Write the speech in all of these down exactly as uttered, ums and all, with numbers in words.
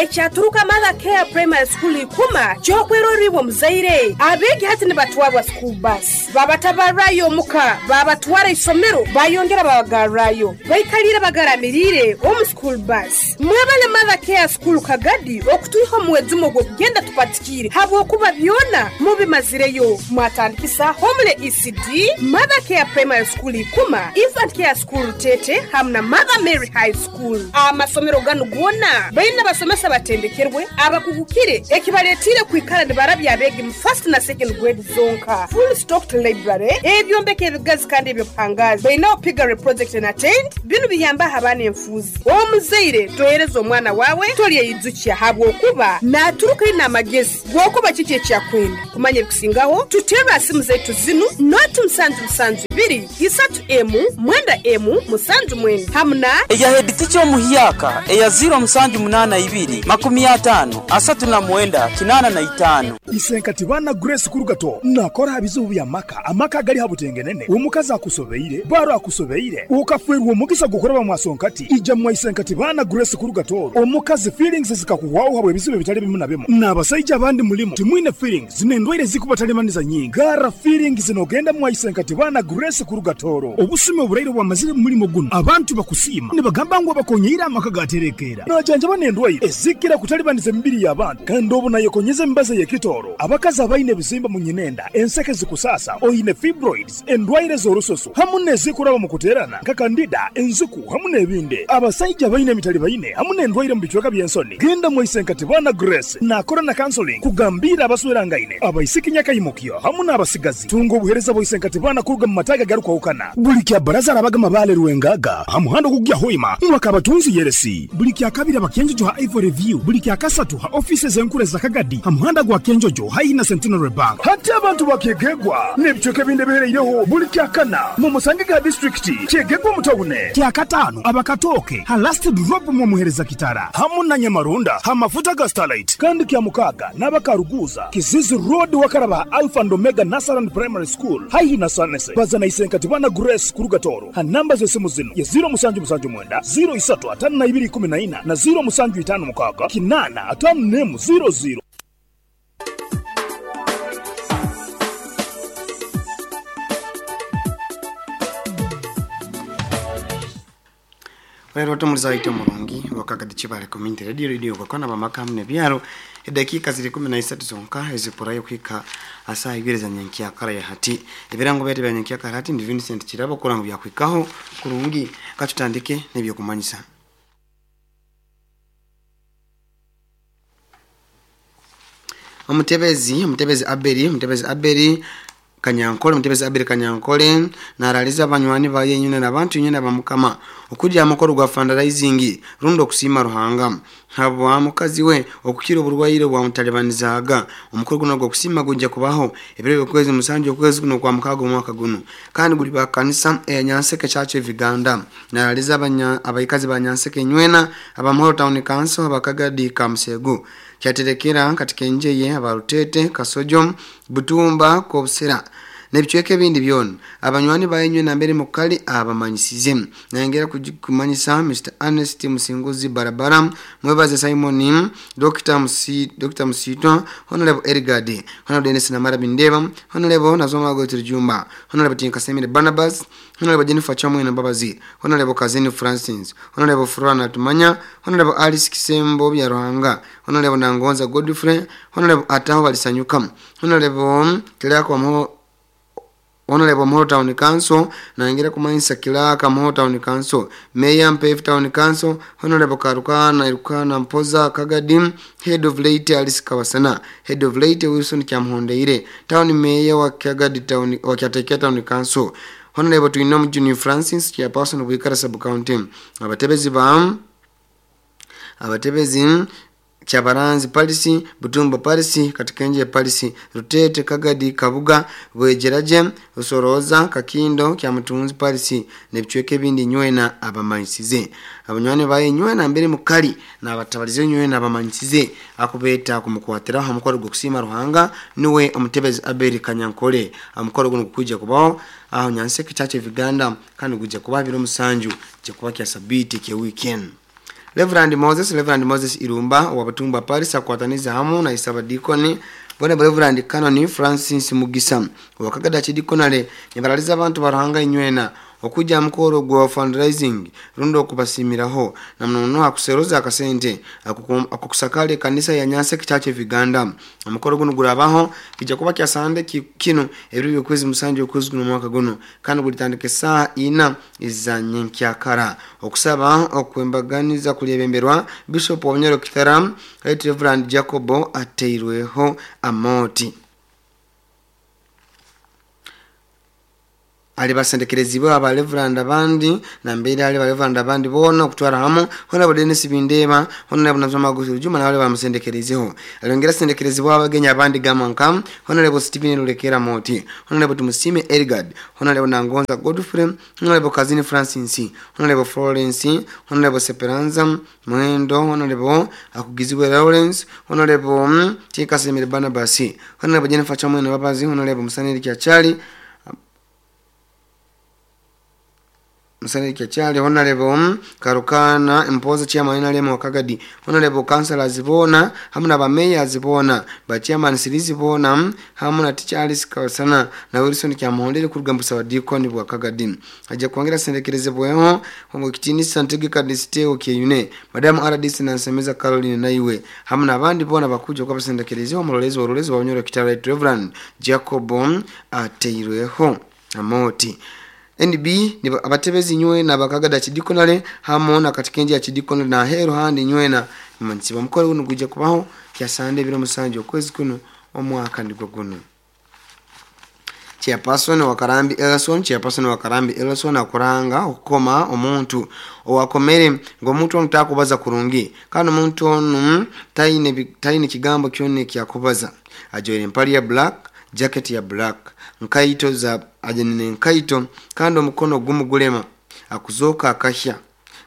Ekyaturuka Mother Care Primary School ikuma kyokweroribwa muzaire. Abegi hati nibatwarwa school bus. Babatabarayo muka, babatwara isomero, bayongera babagarrayo. Baikalira bagaramirire omu school bus. Mwebale Mother Care School Kagadi okutuiho muwezumo gw'okugenda tupatikire. Habwokuba byona mubimazireyo. Mwatandikisa Homele E C D, Mother Care Primary School ikuma, Infant Care School Tete, hamna Mother Mary High School. Amasomero ganu gona baina basomesa batendekerwe abakugukire ekibaletire kwikala nibarabya abegi mu first na second grade zonka. Full stocked library, ebyombeko ebigazi kandi ebyobuhangazi. Baina piggery project na tent, binu biyamba abana enfuzi. Omuzaire tohereza omwana wawe tolyeyizukia habwokuba naturuka ina amagezi gwokuba kiki ekyakwenda. Kumanya ebikusingaho tutera simu zetu zinu noti musanju musanju biri isatu emu mwenda emu musanju mwenda hamna eya head teacher omuhyaka eya zero musanju munana ibiri makumi atano asatu na mwenda kinana na itano. Isenkati bana Grace Kurugato nakora bizubu bya maka amaka gali habutengenene omukazi akusobeire baro akusobeire ukafwerwa omugisa gukoraba mwasonkati ija mwa Isenkati bana Grace Kurugato omukazi feelings zikakuwaho habwe bizubu bitali bimu na bimu n'abasajja abandi mulimo timwine feelings zinendwaire zikubatalemaniza nyingi gara feelings zinogenda mwa Isenkati bana Grace Kurugatoro obusime oburaire bwamazire mulimo guno abantu bakusima nibagamba ngo bakonyeira amaka gaterekera najanja banendwaire ezikira kutalibaniza emibiri y'abantu kandi obu nayekonyeza embaza y'ekitoro abakazi abaine ebizimba mu nyinenda enseke zikusasa oyine fibroids endwaire z'orusoso hamu n'ezikuraba mu kuterana nka kandida enzuku hamu n'ebindi abasajja baine emitali baine hamu n'endwaire mu bicweka by'ensoni genda mu Isenkati bana Grace nakora na counseling kugambira abaswerangaine abaisiki nyakayimukyo hamu n'abasigazi tunga obuhereza bwa Isenkati bana kuruga mu mataga garukwahukana buli kya baraza arabaga mabale ruwengaga hamuhando kugya hoima mwakabatunzi yeresi buli kya kabiri abakenjojo ha Ivory View buli kya kasatu ha offices enkure za Kagadi hamuhanda gwa Kenjojo haina Centenary Bank hati abantu bakegegwa n'ebicweka ebindi bihereireho buli kya kana mu musange ga district kyegegwa mutawune kya katano abakatoke ha last drop mu muhereza kitara hamu na Nyamarunda ha mafuta ga Starlight kandi kya mukaga n'abakaruguza Kizizi Road wakaraba Alpha and Omega Nasaran Primary School haihi na Sanese bazana Isenkati bana Grace Kurugatoro ha namba z'esimu zino ya zero musanju musanju mwenda zero isatu atano na ibiri kumi na ina na zero musanju itano mukaga kinana atano nemu zero zero. Rero tumuzaite murungi wakagadi Chibale Community Radio Radio kwa bamaka hamne byaro edakika ziri kumi na isatu zonka ezipurayo kwika asa ibiri za nyankia kara ya hati ebirango byati bya nyankia kara hati ndi Vincent Kirabo kurango bya kwikaho kurungi katutandike nebyo kumanyisa. Omutebezi omutebezi Aberi omutebezi Aberi Kanyankole mutebezi Aberi Kanyankole naraliza abanywani baye nyune n'abantu nyune abamukama okujja amakoro gwa fundraising rundo kusima Ruhanga habwa mukazi we okukira oburwaire bwa mutalibanizaga omukoro guno gwo kusima gunja kubaho ebiro by'okwezi musanju okwezi kuno kwa mukago mwaka guno kandi guli ba kanisa e Nyanseke Church of Uganda naraliza abanya abaikazi ba Nyanseke nywena abamhoro Town Council abakagadi Kamsegu kyaterekera katika njeye abarutete Kasojo Butumba Kobsera nebichweke ebindi byona abanywani bayenywe nambere mukali abamanyisize nayengera kumanyisa Mister Ernest Musinguzi Barabara mwebaze Simon Doctor Musi Doctor Musito Honorable Ergade Honorable Dennis Namara Bindeba Honorable Nazoma Gotri Jumba Honorable Tinkasemire Barnabas Honorable Jennifer Chamwe na Babazi Honorable Kazini Francis Honorable Furana Tumanya Honorable Alice Kisembo bya Ruhanga Honorable Nangonza Godfrey Honorable Ataho Balisanyuka Honorable Kilako Mo Honorable Moro Town Council naingira kumanyisa Kilaka Moro Town Council Mayor Mpef Town Council Honorable Karukana Irukana Mpoza Kagadim Head of Late Alice Kawasana Head of Late Wilson Kyamhondeire Town Mayor wa Kagadi Town wa Kyatekia Town Council Honorable Twinomu Junior Francis Chairperson of Wikara Sub County abatebezi ba abatebezi Chabaranzi Palisi, Butumba Palisi, Katikenje Palisi, Rutete Kagadi Kabuga, Bwejeraje, Usoroza, Kakindo, Kyamutunzi Palisi, nebichweke bindi nywena abamanyisize. Abanywani baye nywena mbere mukali na abatabalize nywena abamanyisize akubeta kumukwatira hamukoro gokusima Ruhanga niwe omutebezi Aberi Kanyankole amukoro guno kukuja kubaho aho Nyanseke Church of Uganda kandi kuja kuba biro musanju je kuba kya sabiti ke weekend. Reverend Moses Reverend Moses Irumba wa Batumba Paris akwataniza hamu na Isaba Deacon Bwana Reverend Canon Francis Mugisa wa Kagada Chidikonale nibaraliza abantu baruhanga inywena okujja mukoro gwa fundraising rundo okubasimiraho na mnono akuseroza akasente akukusakale kanisa ya Nyanse Church of Uganda. Omukoro guno gurabaho kijja kuba kya sande kino ebiri kwezi musanju okwezi guno mwaka guno kandi gulitandika saa ina izanye nkyakara. Okusaba okwembaganiza kulyebemberwa Bishop wa Bunyoro Kitara Right Reverend Jacobo ateirweho amoti. Alibasendekerezibwa aba Reverend abandi na mbere ali Reverend abandi bona okutwara hamu hona Dennis Bindeba hona Bunazoma Gusu Juma na wale bamusendekerezeho. Alongera sendekerezibwa abagenya abandi gamanka hona lebo Stephen Lulekera Moti hona lebo Tumusime Edgard hona lebo Nangonza Godfrey hona lebo Kazini Francis hona lebo Florence hona lebo Seperanza Mwendo hona lebo Akugizibwe Lawrence hona lebo Tikasemire Barnabas hona lebo Jennifer Chamwe Babazi hona lebo Musaneri Kyachali Musaneri Kyachali Honorable Karukana Mpoza chairman N R M Wakagadi Honorable Councillors bona hamu na ba mayors bona ba chairman Sirizi bona hamu na Teacher Alice Kasana na Wilson Kyamuhondere kuruga mbusa wa Deacon bwa Kagadi. Ajja kwongera sendekereze bweho mu kitinisa ntegeka disteo kyeyune Madam R D C na Nsemeza Caroline naiwe hamu na abandi bona bakuja kwa basendekereze omulolezi ololezi wa Bunyoro Kitara Reverend Jacob ateirweho amoti. N B ni abatebezi nywe na bakagada chidikonale hamu na katikenji ya chidikonale na hero handi nywe na mansiba mukore guno gujja kubaho kya sande biro musanju okwezi kuno omwaka ndigwo guno. Chairperson wa Karambi Elson Chairperson wa Karambi Elson akuranga okukoma omuntu owakomere ng'omuntu ono takubaza kurungi kandi omuntu ono taine taine kigambo kyone kyakubaza ajoire empali ya black jacket ya black nkaito za ajenene nkaito kandi omukono gumugulema akuzoka akahya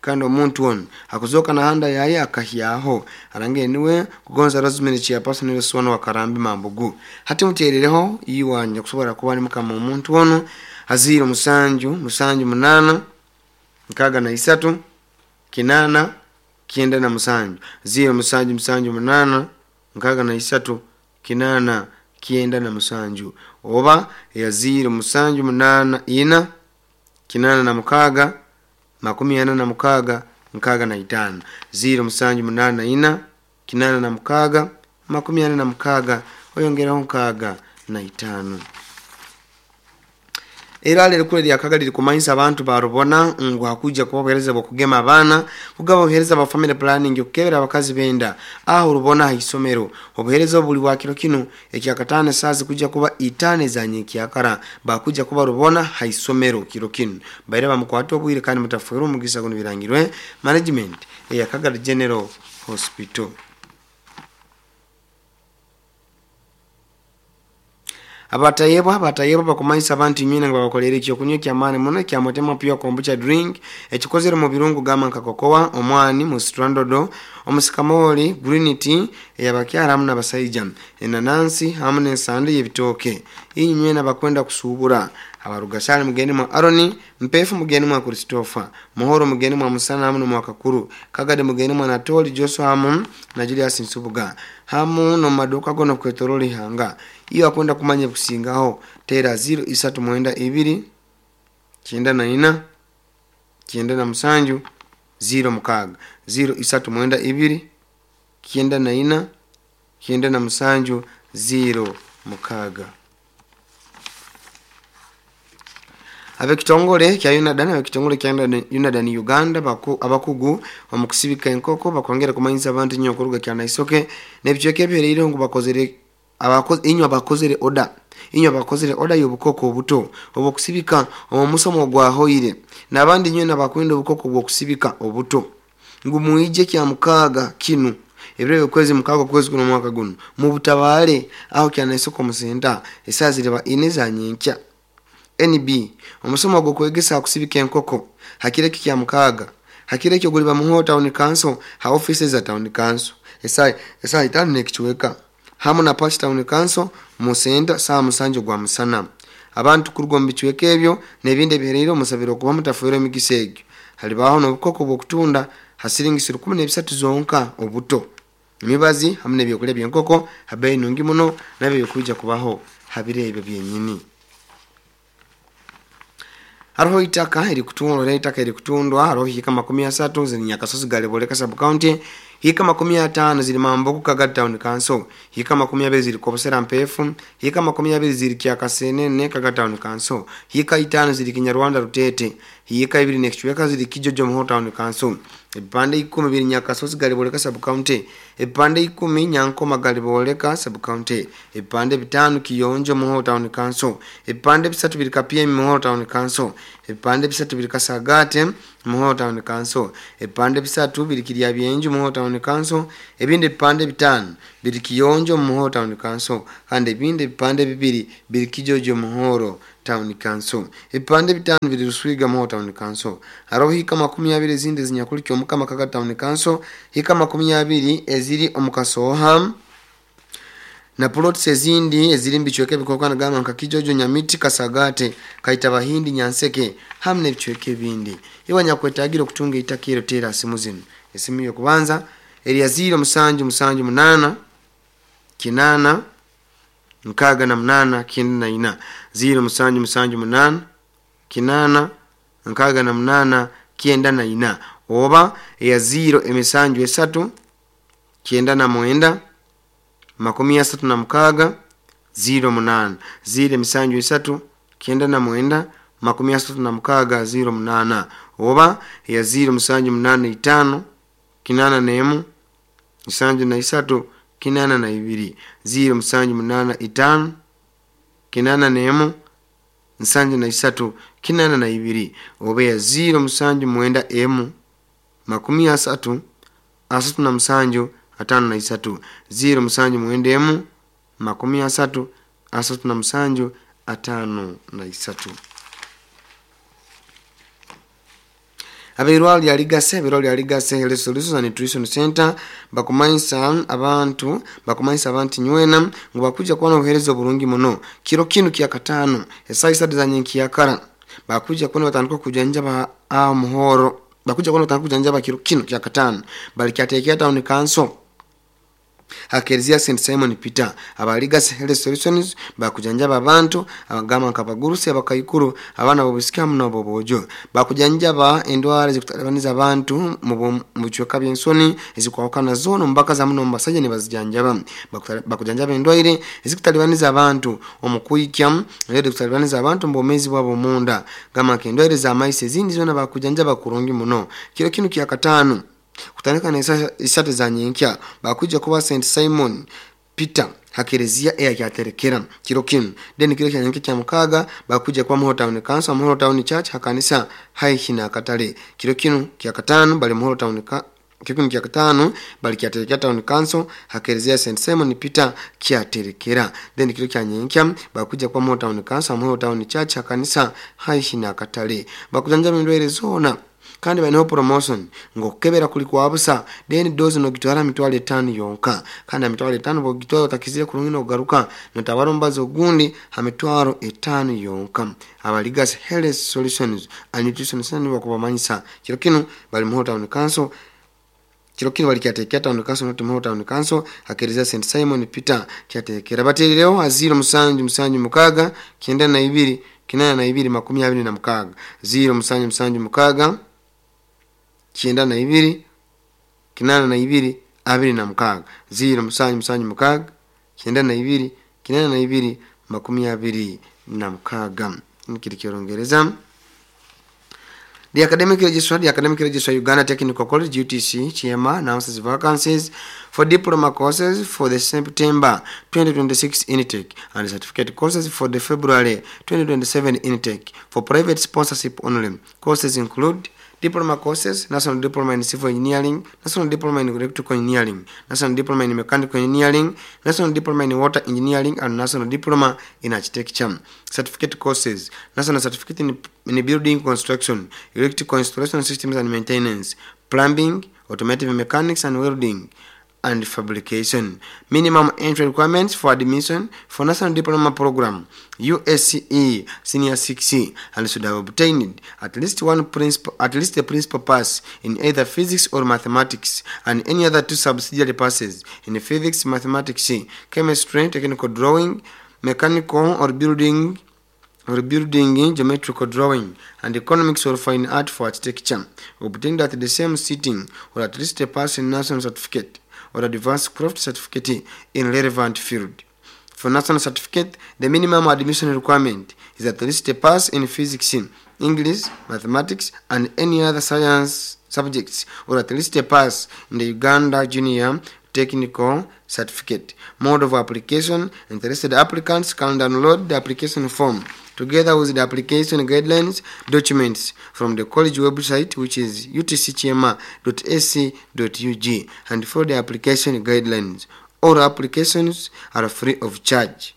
kandi omuntu ono akuzoka na handa yaye akahyaho arange niwe kugonza Rosemary Chairperson Elson wa Karambi Mambugu hati muterereho iwanja kusobora kuba ni mukama omuntu ono aziro musanju musanju munana nkaga na isatu kinana kienda na musanju ziro musanju musanju munana nkaga na isatu kinana kienda na musanju oba ya ziro musanju munana ina kinana na mukaga makumi ana na mukaga nkaga na itano ziro musanju munana ina kinana na mukaga makumi ana na mukaga oyongeraho nkaga na itano. Era lero kule lya Kagali likumanyisa abantu barubona ngo hakuja kubahereza bokugema abana kugaba obuhereza ba family planning okukebera abakazi benda aho rubona haisomero obuhereza buli wa kiro kino ekyakatana sazi kuja kuba itane za nyekyakara bakuja kuba rubona haisomero kiro kino baire bamukwata obwire kandi mutafuira omugisa guno birangirwe management eya Kagali General Hospital. Abatayebwa abatayebwa bakumanyisa abantu nyina nga bakolera ekyokunywa kyamaani muno kyamutema pure kombucha drink ekikozere mu birungo gama nka kokowa omwani musitrandodo omusikamoli green tea eyabakyala hamu n'abasajja enanansi hamu n'ensande y'ebitooke. Inywe n'abakwenda kusuubura abarugasale mugeni mwa Aroni Mpefu mugeni mwa Christopher Muhoro mugeni mwa Musana hamu mwa Kakuru Kagade mugeni mwa Natoli Joshua hamu na Julius Nsubuga hamu no maduka gono kwetoroli hanga iyo akwenda kumanya kusingaho tera zero isatu mwenda ibiri kyenda na ina kyenda na musanju zero mukaga zero isatu mwenda ibiri kyenda na ina kyenda na musanju zero mukaga. Abekitongole kya Unadan abekitongole kya Unadan Uganda baku abakugu omukusibika enkoko bakwongera kumanyisa abantu nnyo okuruga kya Naisoke n'ebicweka ebihereire ngu bakozere abakozi inyo abakozere oda inyo abakozere oda y'obukoko obuto obukusibika omusomo gwa hoire n'abandi nnyo n'abakwenda obukoko bw'okusibika obuto ngu muije kya mukaaga kinu ebiro kwezi mukaaga kwezi kuno mwaka guno mu butabaale aho kya Naisoke omusenta esazireba ine za nyenkya. N B omusomo gwo kwegesa kusibika enkoko hakireki kya mukaaga hakireki oguliba muho town council ha offices za town council esai esai itano nekichweka hamu na Pash town council musenda saa musanjo gwa musana abantu kuruga mu bichweka ebyo n'ebindi ebihereire omusabiro okuba mutafuire emigisa egyo halibaho n'obukoko bw'okutunda Hasiringi rukumi n'ebisatu zonka obuto. Emibazi hamwe n'ebyokulya by'enkoko habeeyi nungi muno, nabyo bikwija kubaho habiro ebyo byenyini. Hariho itaka erikutundwa, itaka erikutundwa hariho hika makumi asatu ziri Nyakasozi Galiboleka sub county, hika makumi atano ziri Mambogo Kagadi town council, hika makumi abiri ziri Kobosera Mpefu, hika makumi abiri ziri Kyakasenene Kagadi town council, hika itano ziri Kinyarwanda Rutete, hika ibiri n'ekicweka ziri Kijojo Muhoro town council. Ebipande ikumi biri Nyakasozi Galiboleka sub county, ebipande ikumi Nyankoma Galiboleka sub county, ebipande bitano Kiyonjo Muhoro town council, ebipande bisatu biri Kapyemi Muhoro town council, ebipande bisatu biri Kasagate Muhoro town council, ebipande bisatu biri Kiryabyenju Muhoro town council, ebindi ebipande bitano biri Kiyonjo Muhoro town council, kandi ebindi ebipande bibiri biri Kijojo Muhoro town council, ebipande bitano biri Ruswiga Muhoro town council. Hariho hika makumi abiri ezindi zinyakuliki omukama Kagadi town council, hika makumi abiri eziri omukasoha na plots ezindi eziri mbicweka ebikokana gamba nka Kijojo, Nyamiti, Kasagate, Kaitabahindi, Nyanseke hamwe n'ebicweka ebindi. Iwe nyakwetagira okutunga itaka ero tera simu zino. Esimu y'okubanza eri ya ziro musanju musanju munana kinana nkaga na munana kyenda na ina, ziro musanju musanju munana kinana nkaga na munana kyenda na ina, oba eya ziro emisanju esatu kyenda na mwenda makumi asatu na mukaga ziro munana, ziro emisanju esatu kyenda na mwenda makumi asatu na mukaga ziro munana, oba eya ziro musanju munana itano kinana nemu musanju na isatu kinana na ibiri, ziro musanju munana itano kinana nemu nsanju na isatu kinana na ibiri, oba ya ziro musanju mwenda emu makumi asatu asatu na musanju atano na isatu, ziro musanju mwenda emu makumi asatu asatu na musanju atano na isatu. Abeirwalo lya Ligase, abeirwalo lya Ligase Health Solutions and Nutrition Center bakumanyisa abantu, bakumanyisa abantu nywena ngu bakuja kuba n'obuheereza oburungi muno kiro kinu kya katano esaaha isatu za nyenkiyakara bakuja kuba nibatandika okujanjaba aho muhoro, bakuja kuba nibatandika okujanjaba kiro kinu kya katano bali kyateekera town council hakereziya Saint Simon Peter. Aba Ligase Health Solutions bakujanjaba abantu abagamba nka abagurusi, abakaikuru, abaana b'obusika hamu n'obwojo. Bakujanjaba endwara ezikutalibaniza abantu mu bicweka by'ensoni ezikwahukana zoona omu bakazi hamu n'omu basajja nibazijanjaba. Bakujanjaba endwaire ezikutalibaniza abantu omu kwikya, endwaire ezikutalibaniza abantu omu bwomeezi bwabo omunda, gamba nk'endwaire z'amaiso ezindi zoona bakujanjaba kurungi muno. Kiro kinu kya katano kutandika na isatu za nyenkya bakuja kuba Saint Simon Peter hakereziya eyakyaterekera kiro kinu. Then kiro kya nyenkya kya mukaga bakuja kuba Muhoro town council, Muhoro town church hakanisa haihi na akatale. Kiro kinu kya katano bali Muhoro town ka kiro kinu kya katano bali kyaterekera town council hakereziya Saint Simon Peter kyaterekera. Then kiro kya nyenkya bakuja kuba Muhoro town council, Muhoro town church hakanisa haihi na akatale. Bakujanjaba endwaire zoona kandi baineho promotion ng'okukebera kuli kwa busa, then dozi nogitwara mitwaro etaano yonka, kandi ha mitwaro etaano bwogitwara otakizire kurungi nogaruka notabara omubazi ogundi ha mitwaro etaano yonka. Aba Ligase Health Solutions and Nutrition Center bakubamanyisa kiro kinu bali Muhoro town council, kiro kinu bali kyateekera town council not Muhoro town council hakereziya Saint Simon Peter kyateekera. Bateerereho ha ziro musanju musanju mukaga kyenda na ibiri kinana na ibiri makumi abiri na mukaga, ziro musanju musanju mukaga kyenda na ibiri kinana na ibiri abiri na mukaga, ziro musanju musanju mukaga kyenda na ibiri kinana na ibiri makumi abiri na mukaga. Nikiri ky'Orungereza. The Academic Registrar, the Academic Registrar Uganda Technical College U T C Kyema announces vacancies for diploma courses for the September twenty twenty-six intake and certificate courses for the February twenty twenty-seven intake for private sponsorship only. Courses include diploma courses, National Diploma in Civil Engineering, National Diploma in Electrical Engineering, National Diploma in Mechanical Engineering, National Diploma in Water Engineering, and National Diploma in Architecture. Certificate courses, National Certificate in, in Building Construction, Electrical Installation Systems and Maintenance, Plumbing, Automotive Mechanics and Welding, and fabrication. Minimum entry requirements for admission for National Diploma Program U S C E Senior six and should have obtained at least one principal, at least a principal pass in either physics or mathematics and any other two subsidiary passes in physics, mathematics, chemistry, technical drawing, mechanical or building or building geometrical drawing, and economics or fine art for architecture, obtained at the same sitting, or at least a pass in national certificate or advanced craft certificate in relevant field. For national certificate, the minimum admission requirement is at least a pass in physics, English, mathematics, and any other science subjects, or at least a pass in the Uganda Junior Technical Certificate. Mode of application: interested applicants can download the application form together with the application guidelines documents from the college website, which is U T C kyema dot A C dot U G, and follow the application guidelines. All applications are free of charge.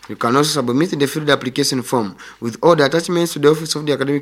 You can also submit the filled application form with all the attachments to the Office of the Academic